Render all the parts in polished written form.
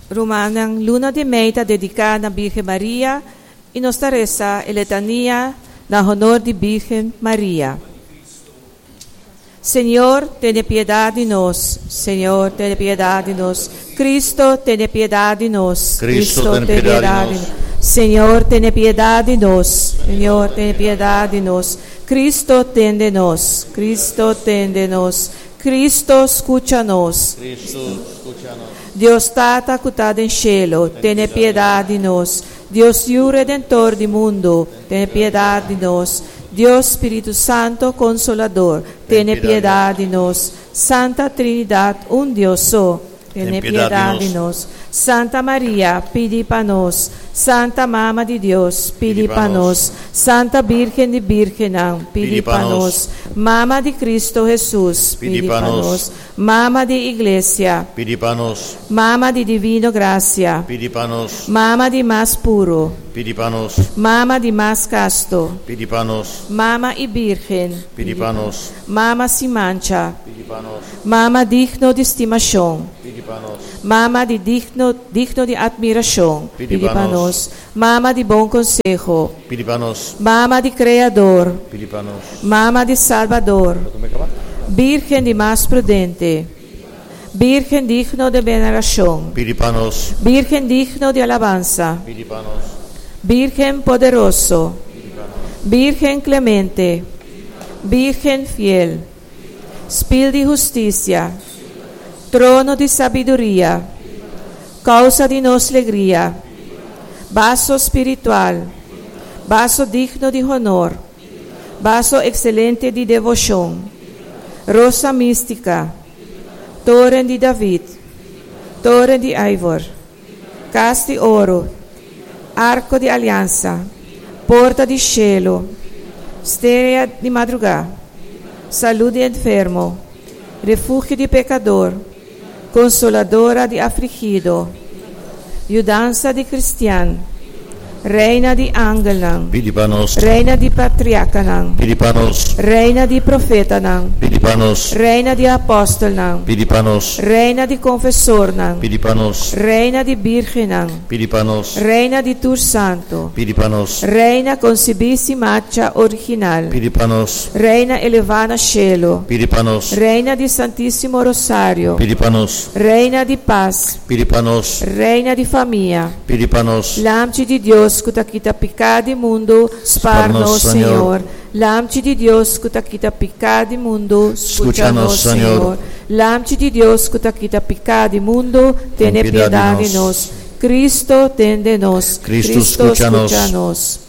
Rumannan, luna di mei ta dediká na Birgen Maria i nos ta resa e letania na honor di Birgen Maria. Señor, tene piedat di nos. Señor, tene piedat di nos. Cristo, tene piedat di nos. Cristo, tene piedat di nos. Señor, tene piedat di nos. Señor, tene piedat di nos. Cristo, tende nos. Cristo, tende nos. Cristo, skucha nos. Cristo, skucha nos. Dios Tata ku ta den shelu, tene piedat di nos. Dios Yu Redentor di mundu, tene piedat di nos. Dios Spiritu Santo Konsolador, tene piedat di nos. Santa Trinidat, un Dios so, tene piedat di nos. Santa Maria, pidi pa nos. Santa Mama di Dios, pidi pa nos. Santa Birgen di Birgennan, pidi pa nos. Mama di Cristo Hesus, pidi pa nos. Mama di Iglesia, Pidi pa nos. Mama di Divino Gracia, Pidi pa nos. Mama di mas puro, Pidi pa nos. Mama di mas casto, Pidi pa nos. Mama y Birgen, Pidi pa nos. Mama sin mancha, Pidi pa nos. Mama digno di stimacion, Pidi pa nos. Mama di digno, digno di admiracion, Pidi pa nos. Mama di bon conseho, Pidi pa nos. Mama di Creador, Pidi pa nos. Mama di Salbador, Birgen di mas prudente, Birgen digno di veneracion, Pidi pa nos. Birgen digno di alabansa, Pidi pa nos. Birgen poderoso, Birgen clemente, Birgen fiel, Spil di husticia, Trono di sabiduria, Causa di nos legria, Vaso spiritual, Vaso digno di honor, Vaso excelente di devocion, Rosa mística, Toren di David, Toren di Ivor, Cas di oro, Arco di aliansa, Porta di cielo, Strea di madruga, Salud di enfermo, Refugio di pecador, Consoladora di afligido, Yudansa di cristian, Reina di angelnan, Pidi pa nos. Reina di patriarcanan, Pidi pa nos. Reina di profetanan, Pidi pa nos. Reina di apostelnan, Pidi pa nos. Reina di confesornan, Pidi pa nos. Reina di birgennan, Pidi pa nos. Reina di tur santo, Pidi pa nos. Reina concibí sin mancha original, Pidi pa nos. Reina elevá na cielo, Pidi pa nos. Reina di Santísimo Rosario, Pidi pa nos. Reina di paz, Pidi pa nos. Reina di famia, Pidi pa nos. Lamchi di Dios ku ta kita piká di mundu, spar nos, Señor. Lamchi di Dios ku ta kita piká di mundu, skucha nos, Señor. Lamchi di Dios ku ta kita piká di mundu, tene piedat di nos. Cristo, tende nos. Cristo, skucha nos.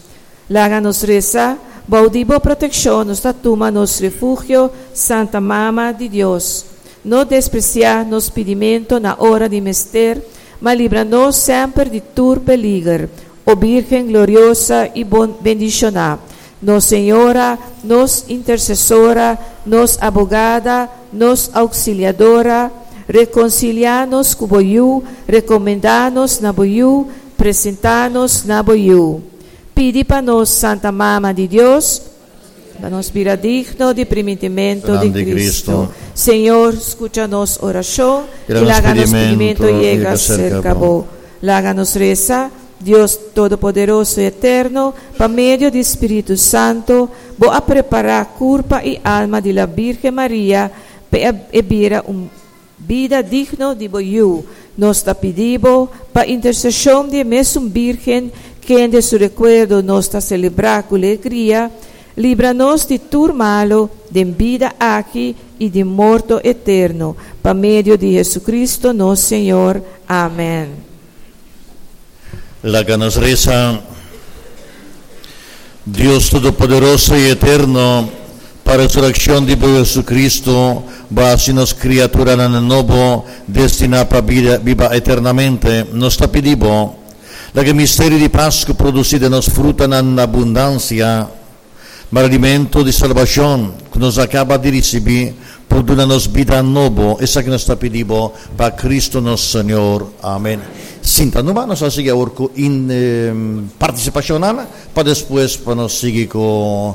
Laga nos resa, Bou di bo protekshon nos ta tuma nos refugio, Santa Mama di Dios. No despresiá nos pidimentu na ora di mester, ma libra nos semper di tur peliger, o Birgen gloriosa i bendishoná, nos Señora, nos Intersesora, nos Abogada, nos Auxiliadora, rekonsiliá nos ku bo Yu, rekomendá nos na bo Yu, presentá nos na bo Yu. Pidi pa nos, Santa Mama di Dios, pa nos bira digno di primintimentu di Cristo. Señor, skucha nos orashon i laga nos pidimentu yega serka bo. Laga nos resa, Dios Todopoderoso i Eterno, pa medio di Spiritu Santo, bo a prepará kurpa i alma di la Birgen Maria pa e bira un bida digno di bo Yu. Nos ta pidi bo, pa interseshon di e mesun Birgen, kende su rekuerdo nos ta selebrá ku legria, libra nos di tur malu den bida aki i di morto eterno, pa medio di Jesucristo nos Señor. Amèn. Laga nos resa. Dios Todopoderoso i Eterno, pa resurekshon di bo Jesucristo, bo a hasi nos kriaturanan nobo, destiná pa bida biba eternamente. Nos ta pidi bo, laga e misterio di Pasku produsí den nos frutanan na abundansia. Ma alimento di salbashon ku nos a kaba di risibí por duna nos bida nobo. Esaki nos ta pidi bo pa Kristu nos Señor. Amen. Sinta numa, nos a sigui awor ku partisipashonnan pa despues pa nos sigui ku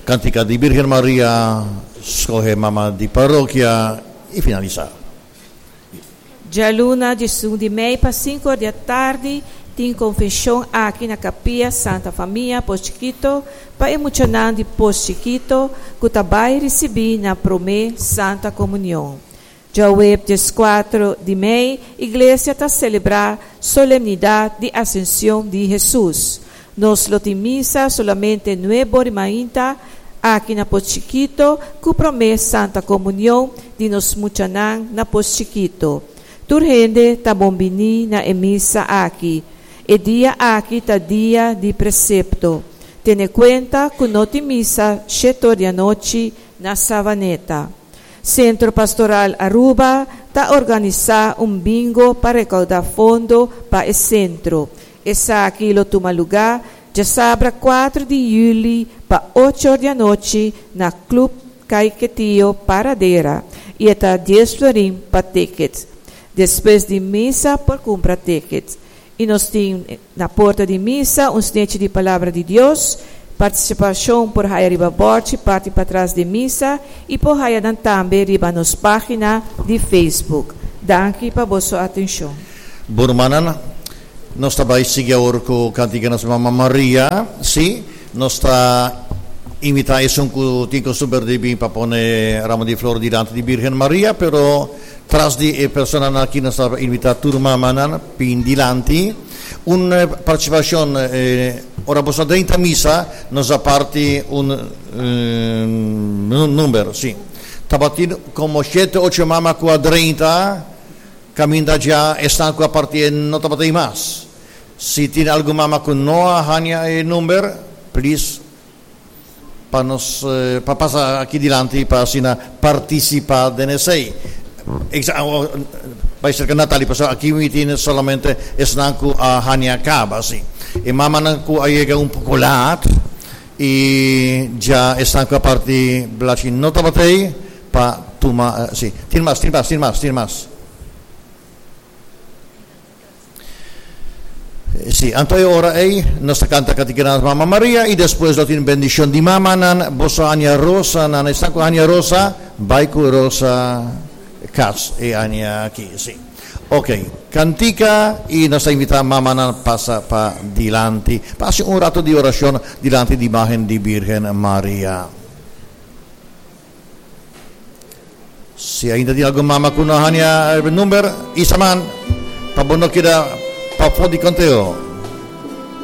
Kantika di Birgen Maria, Skohe Mama di Parokia i finalisá. Djaluna 11 di mei pa 5 or di atardi tin konfeshon aki na Kapia Santa Famia Pos Chikito pa e muchanan di Pos Chikito ku ta bai risibí nan promé Santa Komunion. Djaweps 4 di mei Iglesia ta selebrá Solemnidat di Asension di Hesus. Nos lo tin misa solamente 9 or di mainta aki na Pos Chikito ku promé Santa Komunion di nos muchanan na Pos Chikito. Tur hende ta bonbiní na e misa aki. E dia aki ta dia di presepto. Tene kuenta ku no tin misa 7 or di anochi na Savaneta. Sentro Pastoral Aruba ta organisá un bingo pa rekoudá fondo pa e sentro. Esaki lo tuma lugá djasabra 4 di yüli pa 8 or di anochi na Club Caiquetio Paradera i e ta 10 florin pa ticket. Despues di misa por kumpra ticket. I nos tin na porta di misa un snechi di Palabra di Dios. Partisipashon por haya riba bòrchi parti patras di misa i por haya nan tambe riba nos página di Facebook. Danki pa boso atenshon. Bon rumannan, nos ta bai sigui awor ku kantika nos Mama Maria. Sí, nos ta invitá esun ku tin kostumber di bin pa pone ramo di flor dilanti di Birgen Maria, pero tras di e personanan aki nos ta invitá tur mamanan bin dilanti. Un partisipashon, ora boso a drenta misa, nos a parti un number, sí. Tabatin komo shete, ocho mama ku a drenta, kaminda dja esnan ku a partié no tabata ei mas. Si tin algun mama ku no a haña e number, please pa nos pa pasa aki dilanti pa asina partisipá den esei. Bai serka Natalie pasobra aki mi tin solamente esnan ku a haña kaba si. E mamanan ku a yega un poko lat i dja esnan ku a parti blachi no tabata ei pa tuma si. Tin mas, tin mas, tin mas, tin mas. Sí, anto e ora ei nos ta kanta Katikeranas Mama Maria i despues lo tin bendishon di mamanan. Boso haña rosa nan esnan ku haña rosa bai ku rosa kas e aña aki. Sí. Ok, kantika i nos ta invitá mamanan pasa pa dilanti pa hasi un rato di orashon dilanti di imágen di Birgen Maria. Si ainda tin algun mama ku no haña e number, isa man pa bo no keda pafó di konteo.